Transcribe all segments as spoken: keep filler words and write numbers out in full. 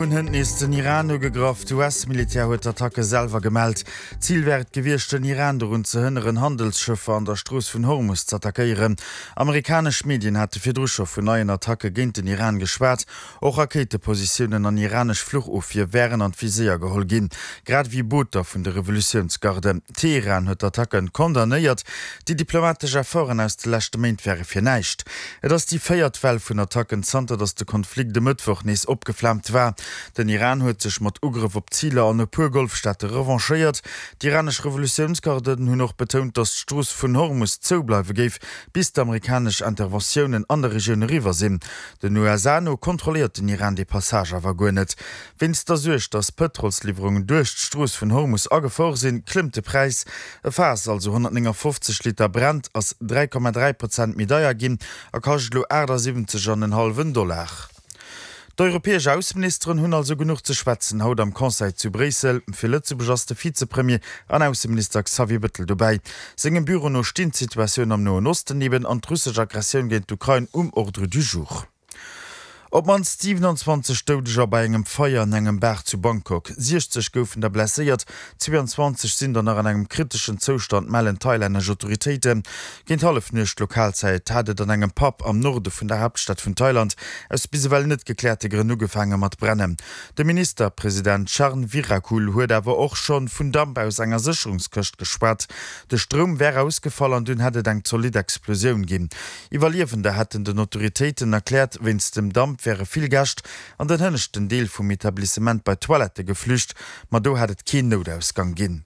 Hunn hënt nees den Iran ugegraff. D'US-Militär huet d'Attacke selwer gemellt. Zil wär et gewiescht, den Iran dorun ze hënneren, Handelsschëffer an der Strooss vun Hormus z'attackéieren. Amerikanesch Medien hate virdru scho vun neien Attacke géint den Iran geschwat. Och Rakéitepositiounen an iranesch Fluchofwier wären an d'Viséier geholl ginn, grad ewéi Booter vun de Revolutiounsgarden. Teheran huet d'Attacken condamnéiert. Déi diplomatesch Efforten aus de leschte Méint wäre fir näischt. Et ass déi véiert Well vun Attacken, zanter datt de Konflikt e Mëttwoch nees opgeflaamt war. Den Iran huet sech mat Ugrëff op Ziler an e puer Golfstaate revanchéiert. D'iranesch Revolutiounsgarden hunn och betount, datt d'Strooss vun Hormus zou bleiwe géif, bis d'amerikanesch Interventiounen an der Regioun eriwwer sinn. Den U S A no kontrolléiert den Iran dee Passage awer guer net. Wéinst der Suerg, datt Pëtrolsliwwerungen duerch d'Strooss vun Hormus a Gefor sinn, klëmmt de Präis. E Faass, also honnertnéngafofzeg Liter Brent, ass dräi Komma dräi Prozent méi deier ginn a kascht elo aachtsiwwenzeg an en hallwen Dollar. D'europäesch Ausseministeren hunn also genuch ze schwätzen haut am Conseil zu Bréissel. Fir Lëtzebuerg ass de Vizepremier an Ausseminister Xavier Bettel dobäi. Sengem Büro no stinn d'Situatioun am Noen Osten eben an d'russesch Aggressioun géint d'Ukrain um Ordre du jour. Op d'mannst siwenanzwanzeg Doudeger bei engem Feier an engem Bar zu Bangkok. Siechzeg goufen der blesséiert, zweeanzwanzeg sinn der nach an engem kriteschen Zoustand, mellen thailännesch Autoritéiten. Géint Hallefnuecht Lokalzäit hat et an engem Pub am Norde vun der Haaptstad vun Thailand aus bis ewell net gekläerte Grënn ugefaange mat brennen. De Ministerpresident Charnvirakul huet awer och scho vun Damp aus enger Sécherungskëscht geschwat. De Stroum wär ausgefall an dunn hätt et eng zolidd Explosioun ginn. Iwwerliewender hätten den Autoritéiten erkläert, wéinst dem Damp wäre vill Gäscht an den hënneschten Deel vum Etablissement bei d'Toilette geflücht, ma do hätt et keen Noutausgang ginn.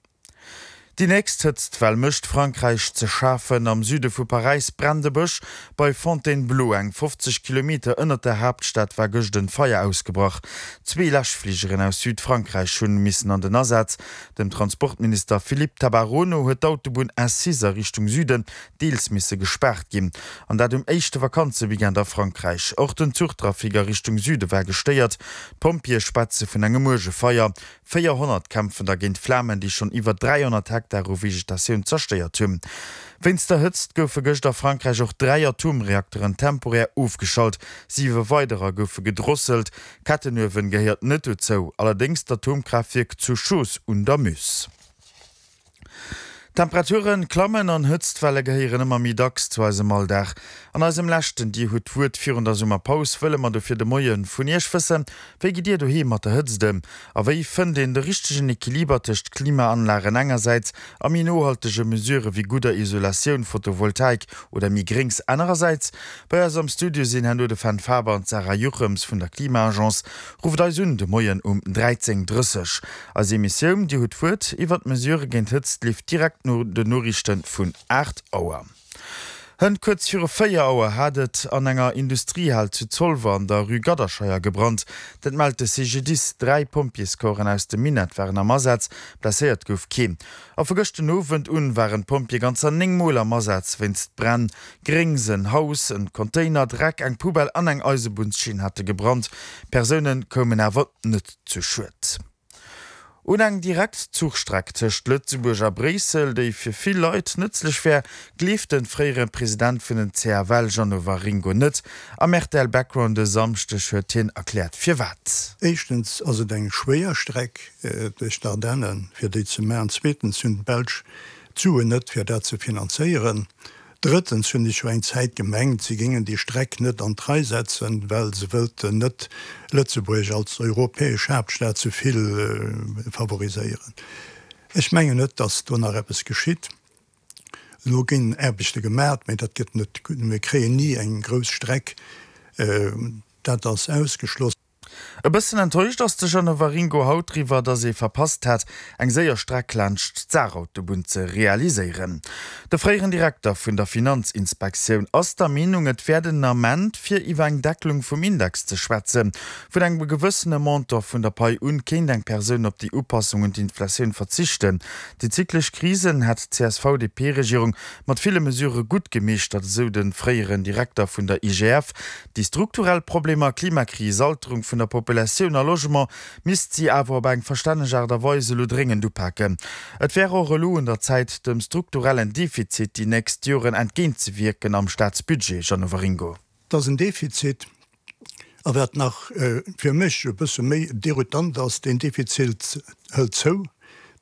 Déi nächst Hëtztwell mécht Frankräich ze schafen. Am Süde vu Paräis brennt e Bësch bei Fontainebleau. Eng fofzeg Kilometer ënnert der Haaptstad war gëscht en Feier ausgebrach. Zwee Läschfligeren aus Südfrankräich hunn missen an den Asaz. Dem Transportminister Philippe Tabarot no huet d'Autobunn S six a Richtung Süden deels misse gespaart ginn. An dat um éischte Vakanzeweekend a Frankräich. Och den Zuchtrafic a Richtung Süde war gestéiert. D'Pompjeeë schwätze vun engem uerge Feier. Véierhonnert kämpfen da géint Flamen, déi schonn iwwer dräihonnert Hektar u Vegetatioun zerstéiert hunn. Wéinst der Hëtzt goufe gëscht a Frankräich och dräi Atomreakteren temporär ofgeschalt, siwe weiderer goufe gedrosselt. Kettenuewen gehéiert net dozou, allerdéngs d'Atomkraaftwierk zu Chooz un der Meuse. D'Temperature klammen an Hëtztwelle gehéieren ëmmer méi dacks zu eisem Alldag. An eisem leschten Dir hutt d'Wuert virun der Summerpaus wëlle mer dofir de Moie vun Iech wëssen, Wéi gitt Dir doheem mat der Hëtzt ëm? A wéi fënnt een de richtegen Equiliber tëscht Klimaanlagen engersäits a méi nohaltege Mesurë wéi gudder Isolatioun, Photovoltaik oder méi Gréngs anerersäits? Bei eis am Studio sinn herno de Fenn Faber an d'Sarah Juchems vun der Klima-Agence. Rufft eis un de Moien um dräizéng drësseg. Eis Emissioun Dir hutt d'Wuert iwwer d'Mesurë géint Hëtzt leeft direkt no den Noriichte vun aacht Auer. Hënt kuerz viru véier Auer hat et an enger Industriehal zu Zolwer an der Rue Gadderscheier gebrannt. Dat mellt de C G D I S. Dräi Pompjeescorpsen aus dem Minett waren am Asaz, blesséiert gouf keen. A vu gëschten Owend un waren d'Pompjeeë ganzer néng Mol am Asaz wéinst Bränn. Gréngs, en Haus, en Container, Dreck, eng Poubelle an eng Eisebunnschinn hate gebrannt. Persoune koumen awer net zu Schued. Un eng direkt Zuchstreck tëscht Lëtzebuerg a Bréissel, déi fir vill Leit nëtzlech wär, gleeft de fréiere President vun den C F L Jeannot Waringo net. Am R T L Background e Samschdeg huet hien erkläert firwat. Éischtens ass et eng schwéier Streck duerch d'Ardennen, fir déi ze maachen. Zweetens hunn d'Belsch d'Suen net, fir dat ze finanzéieren. Drëttens hunn ech jo eng Zäit gemengt, si géingen déi Streck net an d'Rei setzen, well se wëllten net Lëtzebuerg als europäesch Haaptstad ze vill favoriséieren. Ech mengen net, datt do nach eppes geschitt. Elo ginn Aarbechte gemaach, mee dat gëtt net, mir kréien ni eng grouss Streck. Dat ass ausgeschloss. E bëssen enttäuscht ass de Jeannot Waringo haut driwwer, datt ee verpasst hat, eng séier Streck laanscht d'Saarautobunn ze realiséieren. De fréieren Direkter vun der Finanzinspektioun ass der Meenung, et wär den Ament, fir iwwer eng Deckelung vum Index ze schwätzen. Vun engem gewëssene Montant vun der Pai un kéint eng Persoun op déi Upassung un d'Inflatioun verzichten. Déi zyklesch Krisen hätt d'C S V D P-Regierung mat ville Mesurë gutt gemeeschtert, esou de fréieren Direkter vun der I G F. Déi strukturell Problemer, Klimakris, Alterung vun der Populatioun a Logement misst si awer op eng verstänneg Aart a Weis elo dréngend upaken. Et wär och elo un der Zäit, dem strukturellen Defizit déi nächst Joren entgéintzewierken am Staatsbudget, Jeannot Waringo. Dat ass en Defizit A wat nach fir mech e bësse méi déroutant ass, deen Defizit hëlt zou,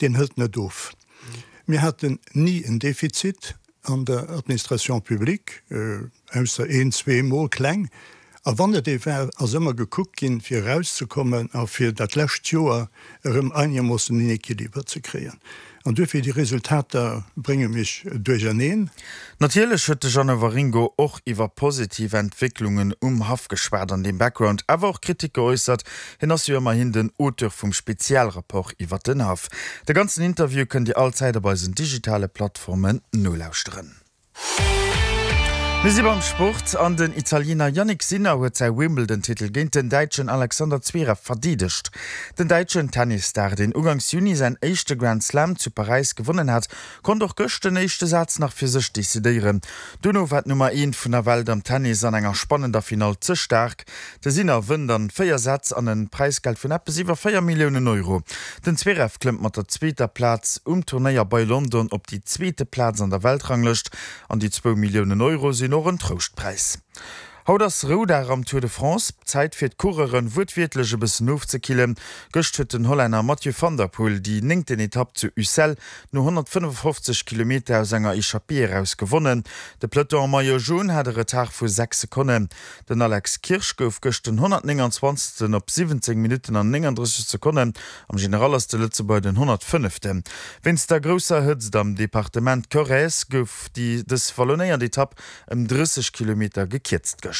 deen hëlt net of. Mir haten ni en Defizit an der Administration publique, ausser een, zwee Mol kleng. A wann et ee war, ass ëmmer gekuckt ginn, fir erauszekommen a fir dat lescht Joer erëm einermoossen en Équiliber ze kréien. An duerfir, déi Resultater brénge mech duercherneen. Natierlech huet de Jeannot Waringo och iwwer positiv Entwécklungen um Haff geschwat, an deem Background awer och Kritik geäussert. Hien ass jo ëmmerhin den Auteur vum Spezialrapport iwwer den Haff. De ganzen Interview kënnt Dir allzäit op eisen digitale Plattformen nolauschteren. Mir si beim Sport an den Italiener Jannik Sinner huet säi Wimbledon-Titel géint den Däitschen Alexander Zverev verdeedegt. Den däitschen Tennisstar, deen uganks Juni säin éischte Grand Slam zu Paräis gewonnen hat, konnt och gëscht den éischte Saz nach fir sech decidéieren. Dono war d'Nummer eent vun der Welt am Tennis an enger spannender Finall ze staark. De Sinner wënnt an véier Sätz an en Präisgeld vun eppes iwwer véier Milliounen Euro. Den Zverev klëmmt mat der zweeter Plaz um Turnéier bei London op déi zweete Plaz an der Weltranglëscht an déi zwou Milliounen Euro sinn och en Trouschtpräis. Haut ass Roudag am Tour de France, Zäit fir d'Coureuren wuertwiertlech e bëssen ofzekillen. Gëscht huet den Hollänner Mathieu van der Poel déi néngten Etapp zu Ussel no honnertfënnefofzeg Kilometer aus enger Echappée eraus gewonnen. De Peloton en Maillot jaune hat e Retard vu sechs Sekonnen. Den Alex Kirsch gouf gëscht den honnertnénganzwanzegsten op siwwenzéng Minutten an nénganddrësseg Sekonnen. Am General ass de Lëtzebuerger den honnertfënneften. Wéinst der grousser Hëtzt am Departement Corrèze gouf déi dës wallonéiert Etapp ëm drësseg Kilometer gekierzt gëscht.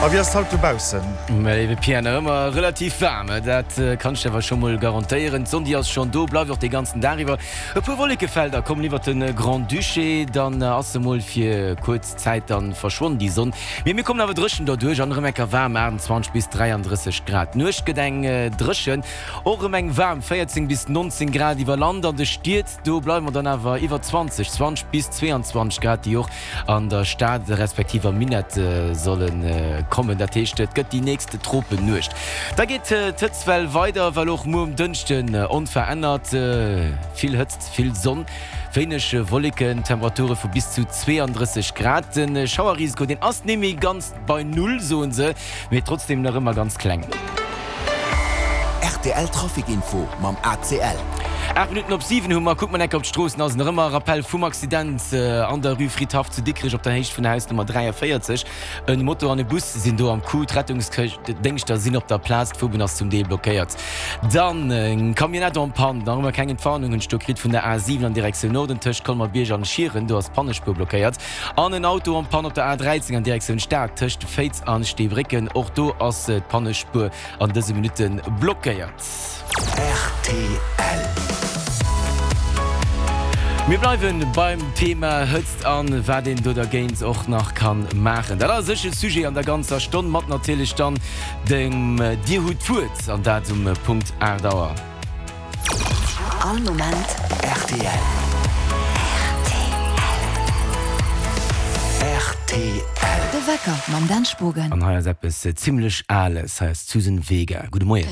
A wéi ass et haut dobaussen? Mä léiwe Pierre, nach ëmmer relativ waarm, dat kann ech dir awer scho mol garantéieren. D'Sonn déi ass schonn do, bleift och dee ganzen Dag iwwer. E puer Wollekefelder kommen iwwert de Grand-Duché, dann ass se mol fir kuerz Zäit dann verschwonn, déi Sonn. Mee mir kommen awer dréchen derduerch an erëm enker waarm, aachtundzwanzeg bis dräianddrësseg Grad. D'Nuecht gëtt eng dréchen, och erëm eng waarm, véierzéng bis nonzéng Grad iwwer Land. An de Stied, do bleiwe mer dann awer iwwer zwanzeg, zwanzeg bis zweeandzwanzeg Grad, déi och an der Stad respektiv am Minett solle kommen. Dat heescht, et gëtt déi nächst Tropennuecht. Da geet d'Hëtztwell weider, well och muer um Dënschden onverännert vill Hëtzt, vill Sonn, wéineg Wolleken, Temperature vu bis zu zweeandrësseg Grad. De Schauerrisiko, deen ass net méi ganz bei Null, soe se, mee trotzdeem nach ëmmer ganz kleng. Rtl Trafic Info mam A C L. Aacht Minutten op siwen hu mer. Kuckt mer enker op d'Stroossen, ass nach ëmmer Rappel vum Accident an der Rue Fridhaff zu Dikrech op der Héicht vun der Hausnummer dräiavéierzeg. En Moto an e Bus sinn do am Coup. D'Rettungsdéngschter sinn op der Plaz, d'Fuerbunn ass zum Deel blockéiert. Dann eng Camionnette en panne, nach ëmmer keng Entwarnung hunn ech do kritt vun der A siwen an Direktioun Norden tëscht Colmer-Bierg an Schieren, do ass d'Pannespuer blockéiert. An en Auto en panne op der A dräizéng an Direktioun Stad tëscht Féiz an Steebrécken, och do ass d'Pannespuer an dëse Minutte blockéiert. Rtl. Mir bleiwen beim Thema Hëtzt an wat een do dergéint och nach kann maachen. Dat ass sécher Sujet an der ganzer Stonn, mat natierlech dann dem Dir hutt d'Wuert an dat um Punkt aacht Auer. All Moment rtl. Rtl. De Wecker mam Dan Spogen. An hei ass eppes zimlech Ales, hei ass d'Suzan Vega. Gudde Moien.